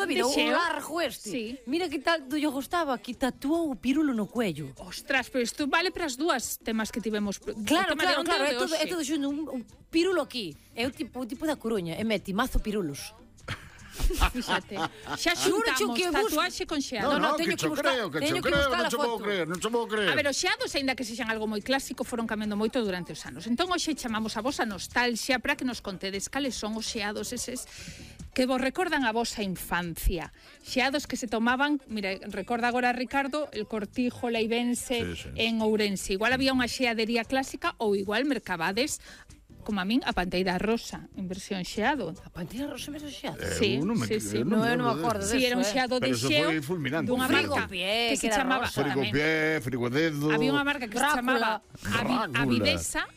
toda a vida, o largo este. Mira que tal lle gustaba, que tatuou o pirulo no cuello. Ostras, pero isto vale para as dúas temas que tivemos. Claro, é todo xunto, un pirulo aquí. É o tipo da Coruña, e mete mazo pirulos. Fíxate, xa xuntamos tatuaxe con xeado. No, teño que buscar a foto. Non se vou creer. A ver, os xeados, aínda que sexan algo moi clásico, foron cambiando moito durante os anos. Entón, hoxe chamamos a vosa nostalgia para que nos contedes cales son os xeados eses que vos recordan a vosa infancia. Xeados que se tomaban, mira, recorda agora Ricardo, el Cortijo Leivense en Ourense. Igual había unha xeadería clásica ou igual mercabades como a min, a Panteira Rosa, en versión xeado. A Panteira Rosa en versión xeado? Sí. Non me acordo deso. Sí, era un xeado de xeo dunha marca que se chamaba Frigodedo. Había unha marca que se chamaba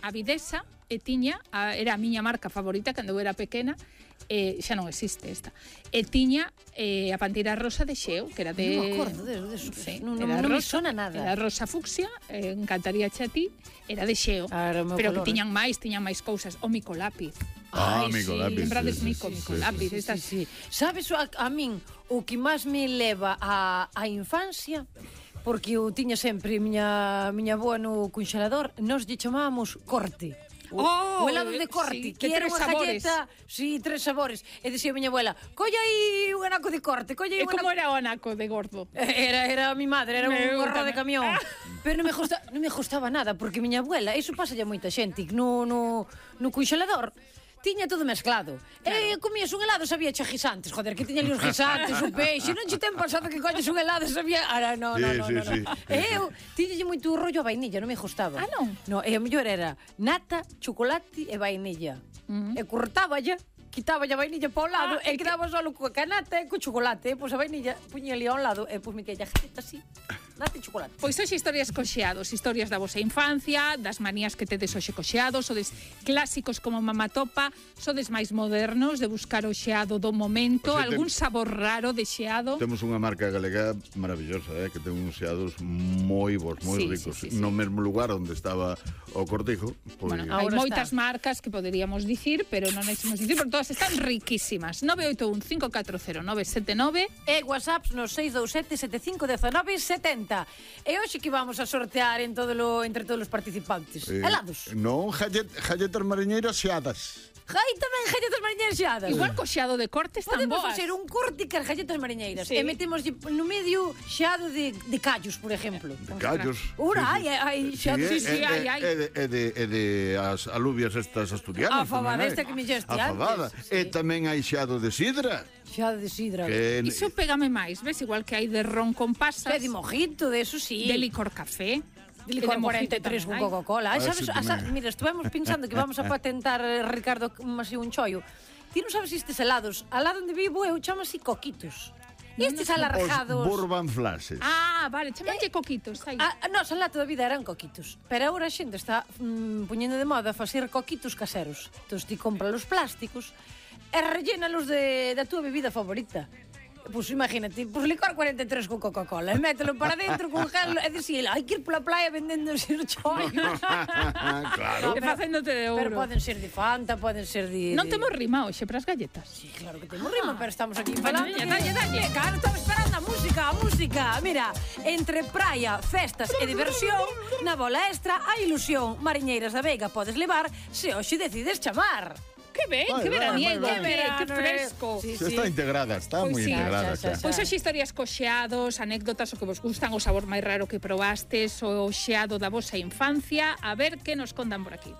Avidesa, e tiña, era a miña marca favorita cando eu era pequena, xa non existe esta. E tiña a Panteira Rosa de xeo, que era de... Non me acordo deso. Non me sona nada. Era rosa fucsia, encantaría a ti, era de xeo. Pero que tiñan máis cousas. O Micolápiz. Micolápiz. Lembrades Micolápiz. Sí. Sabes a min o que máis me leva á infancia? Porque eu tiña sempre miña avoa no conxelador, nos lle chamábamos corte. O helado de corte, que era unha galleta, 3 sabores. E dicía a miña abuela, colla aí un anaco de corte, E como era o anaco de gordo? Era a mi madre, era un gorro de camión. Pero non me gustaba nada, porque miña abuela, iso pasa a moita xente, no conxelador tiña todo mezclado. E comías un helado, sabía che guisantes, joder, que tiña ali os guisantes, o peixe, non che ten pasado que colles un helado, sabía... No. E eu tiñalle moito rollo a vainilla, non me gustaba. Non? No, e a mellor era nata, chocolate e vainilla. E cortáballa, quitaba a vainilla para o lado e quedaba solo coa canata e co chocolate. Pois a vainilla puña ali ao lado e pois me queia galleta así. Nata e chocolate. Pois hoxe historias coxeados, historias da vosa infancia, das manías que tedes hoxe coxeados, sodes clásicos como Mamatopa, sodes máis modernos de buscar o xeado do momento, algún sabor raro de xeado. Temos unha marca galega maravillosa, que ten uns xeados moi bons, moi ricos. No mesmo lugar onde estaba o Cortijo. Bueno, hai moitas marcas que poderíamos dicir, pero non deixemos dicir, porque todas están riquísimas. 981 540 979 e WhatsApps no 627 751970. E hoxe que vamos a sortear entre todos os participantes? Helados? Non, galletas mariñeiras xeadas. Tamén galletas mariñeiras xeadas. Igual co xeado de corte están boas. Podemos facer un corte cas galletas mariñeiras e metemos no medio xeado de callos, por exemplo. De callos. Ora, hai xeado. hai. E de as alubias estas asturianas. A fabada esta que me xeste antes. E tamén hai xeado de sidra. Xeado de sidra. Iso pégame máis, ves? Igual que hai de ron con pasas. De mojito, de eso sí. De licor café. De licor 43 con Coca-Cola. Mira, estuvemos pensando que vamos a patentar, Ricardo, así un chollo. Ti non sabes estes helados. Al lado onde vivo eu chamo así coquitos. Estes alargados. Os bourbon flashes. Vale, chamanlle coquitos. Nos, alá toda a vida eran coquitos. Pero agora a xente está poñendo de moda facer coquitos caseros. Entón, ti compras os plásticos e rellénalos da túa bebida favorita. Pois imagínate, licor 43 con Coca-Cola, mételo para dentro con gel e dicir, hai que ir pola playa vendendo os chollos. Claro. E facéndote de ouro. Pero poden ser de Fanta, poden ser de... Non temos rima hoxe para as galletas. Sí, claro que temos rima, pero estamos aquí falando. Dalle. Claro, estamos esperando a música. Mira, entre praia, festas e diversión, na bola extra, a ilusión. Mariñeiras da Veiga podes levar se hoxe decides chamar. Que ben, que veraniego, que fresco. Está integrada, está moi integrada. Pois hoxe historias coxeados, anécdotas o que vos gustan, o sabor máis raro que probastes, o xeado da vosa infancia. A ver que nos contan por aquí.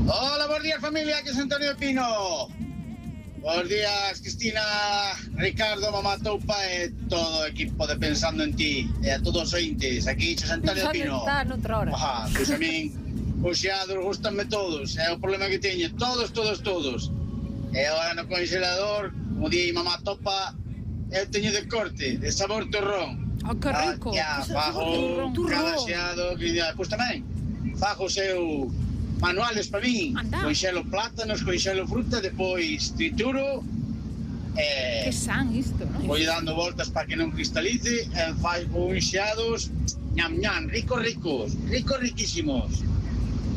Hola, bons días familia, que é Antonio Pino. Bons días, Cristina, Ricardo, Mamatopa e todo o equipo de Pensando en Ti. E a todos os ointes, aquí Xos Antonio Pino. Pois a min os xeados gustanme todos, é o problema que teño, todos. E agora no congelador, como di Mamatopa, eu teño de corte, de sabor torrón. Que rico. Fago cada xeado, pois tamén, fago seu manuales para min, conxelo plátanos, conxelo fruta, depois trituro, que san isto, non? Vou dando voltas para que non cristalice, e fago uns xeados, riquísimos.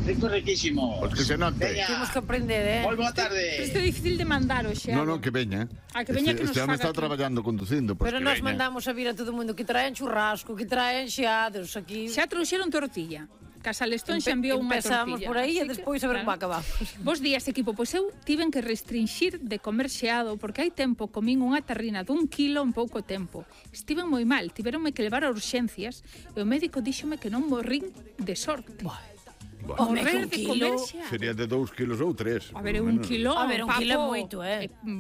Rico, riquísimo. Pois que se note. Temos que aprender, Moi boa Pero tarde. isto é difícil de mandar o xeado. No, que veña. Que veña que nos este home faga está aquí. traballando conducindo, pois Pero que nós veña. mandamos a vir a todo mundo que traen churrasco, que traen xeados aquí. Xa trouxeron tortilla. Casalestón xa enviou unha Empezamos tortilla. por aí e Así que, despois a ver como acabamos. Bos días, equipo. Pois eu tiven que restringir de comer xeado porque hai tempo comín unha terrina d'1 kilo en pouco tempo. Estiven moi mal, tiveronme que levar a urxencias e o médico díxome que non morrín de sorte. Home, Morrer que un de kilo comer xeado. Sería de 2 kilos ou 3. A ver, un kilo, A ver, un papo, kilo é moito,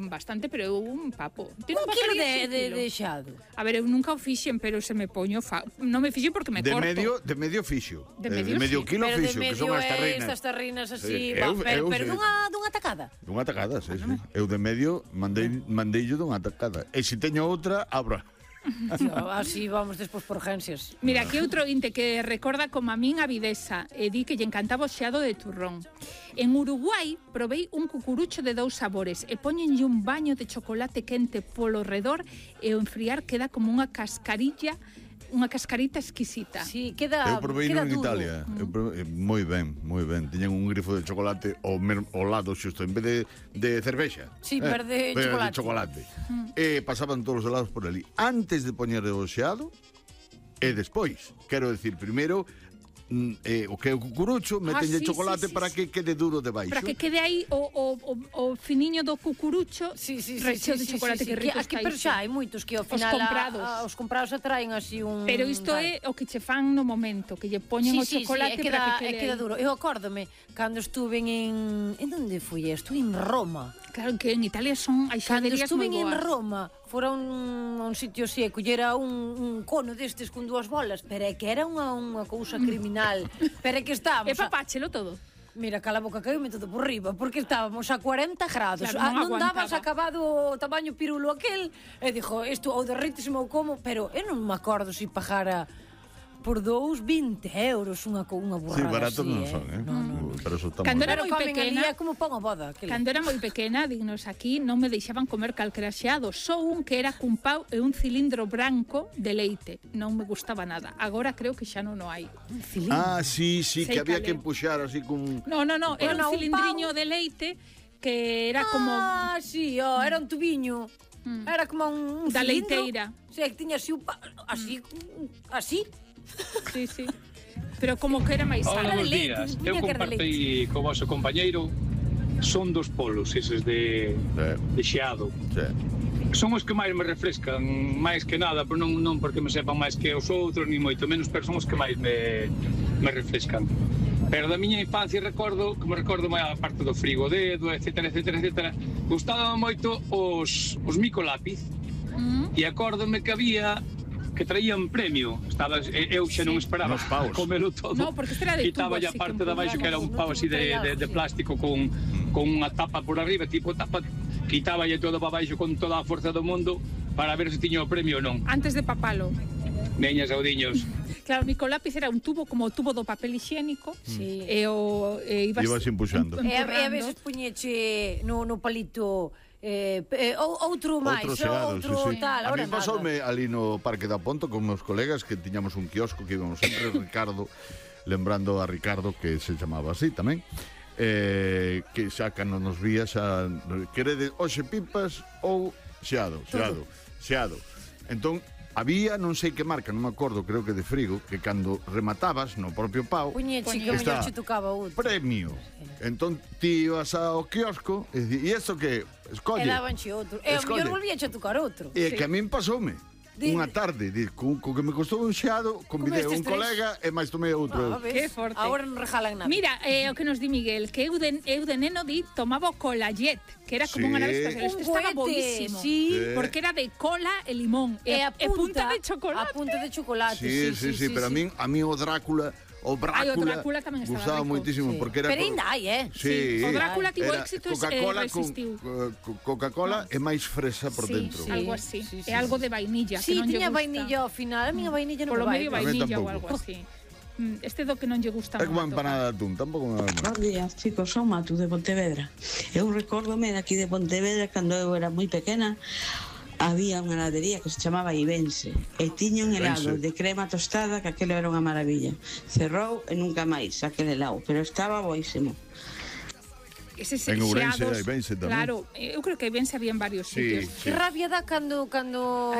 bastante, pero é un papo. Ti Un non kilo pagarías un de xeado. A ver, eu nunca o fixen, pero se me poño... Non me fixen porque me De corto. medio fixo. De medio sí. Kilo Pero de fixo, que medio son as terrinas. estas terrinas así, Sí, pero sí. dunha tacada. Dunha tacada, sí, sí. Eu de medio mandeillo dunha tacada. E se teño outra, abra. Tío, así vamos despois por urgencias. Mira, aquí outro inte que recorda como a min a videsa e di que lle encantaba o xeado de turrón. En Uruguai provei un cucurucho de 2 sabores e poñenlle un baño de chocolate quente polo redor e o enfriar queda como unha cascarita exquisita. Sí, queda Eu provei queda en duro. Italia. Moi ben, moi ben. Tiñan un grifo de chocolate ao lado xusto, en vez de cervexa. Sí, verde chocolate. De chocolate. E pasaban todos os helados por ali. Antes de poñer o xeado e despois. Quero decir, primeiro o que é o cucurucho, metenlle sí, chocolate sí, para que quede duro de baixo. Para que quede aí o finiño do cucurucho recheo de chocolate que rico aquí, está pero iso. xa hai moitos que ao final os comprados atraen así un... Pero isto é o que che fan no momento, que lle poñen o chocolate para que quede queda duro. Eu acórdome cando estuve en onde fui? Estuve en Roma. Claro que en Italia son hai Cando xaderías estuve moi en boas. Roma, fora un sitio así, e collera un cono destes con 2 bolas, pero é que era unha cousa criminal. Pero é que estábamos... E papáchelo todo. Mira, cala boca, caíme todo por riba, porque estábamos a 40 grados. Claro, non dabas acabado o tamaño pirulo aquel, e dixo, isto ou derrítesme ou como, pero eu non me acordo se pagara por 20 euros unha burrada Sí, baratos así, non son, pero eso está Cando moi era ben. moi comen pequena, ali, é como pon a boda. Cando era moi pequena, dignos aquí, non me deixaban comer calquera xeado, só un que era cun pau e un cilindro branco de leite. Non me gustaba nada. Agora creo que xa non o hai. Ah, sí, Sei que había cal que é. empuxar así con... No, era Bueno, un un cilindriño pau. de leite que era como... Ah, sí, era un tubiño. Era como un Da cilindro. leiteira. O sea, que tiña así así. Sí, sí. Pero como que era máis Hola, sano. bons leite, días. tiña Eu que era compartei co vosso compañeiro son dos polos, eses de xeado. Sí. Son os que máis me refrescan, máis que nada, pero non porque me sepan máis que os outros, ni moito menos, pero son os que máis me refrescan. Pero da miña infancia recordo máis a parte do frigodedo, etcétera. Gustaban moito os micolápiz, e acórdome que había que traían premio. Eu xa non esperaba Nos paus. comelo todo. No, porque este era de tubo, Quitaba a así parte que de abaixo que era un pau así de plástico con unha tapa por arriba, tipo tapa, quitaba todo para baixo con toda a forza do mundo para ver se tiña o premio ou non. Antes de papalo. Veñas, audiños. Claro, o micolápiz era un tubo como o tubo do papel higiénico. Sí. Ibas empuxando. E a veces puñeche no palito outro máis, outro sí. tal, A ahora mí pasoume ali no Parque da Ponto con meus colegas que tiñamos un quiosco que íbamos sempre Ricardo, lembrando a Ricardo que se chamaba así tamén. Que xa cando nos vía xa querede hoxe pipas ou xeado. Entón había non sei que marca, non me acordo, creo que de Frigo, que cando rematabas no propio pau puñeche que mellor che tocaba outro. premio. Entón ti ibas ao quiosco e dicías, e isto que escolle. E dabanche outro. E o mellor volvíache a tocar outro. E que a min pasoume. Unha tarde, co que me costou un xeado, convidei un colega e máis tomei outro. Que forte. Agora non regalan nada. Mira, o que nos di Miguel, que eu de neno tomaba o colallet, que era como unha nave espacial. Este estaba boísimo. Sí. Porque era de cola e limón. E punta de chocolate. A punta de chocolate, Sí, pero a min o Drácula, o Drácula tamén estaba gustaba rico. moitísimo, porque era... Pero ainda hai, Sí. O Drácula tivo Era éxitos e Coca-Cola resistiu. Coca-Cola é máis fresa por dentro. Algo así. É algo de vainilla, que Sí, non lle tiña gusta. vainilla ao final. A miña vainilla non Polo me vai. medio A mí vainilla ou tampouco. algo así. Este do que non lle gusta É como a moito. empanada de atún, tampouco me vai mal. Bos días, chicos, son Matu de Pontevedra. Eu recórdome de aquí de Pontevedra cando eu era moi pequena. había unha heladería que se chamaba Ibense e tiña un helado de crema tostada que aquilo era unha maravilla. Cerrou e nunca máis aquele helado, pero estaba boísimo. Eses En Ourense xeados, hai Ibense tamén. claro, eu creo que Ibense había en varios sitios. Que rabia dá cando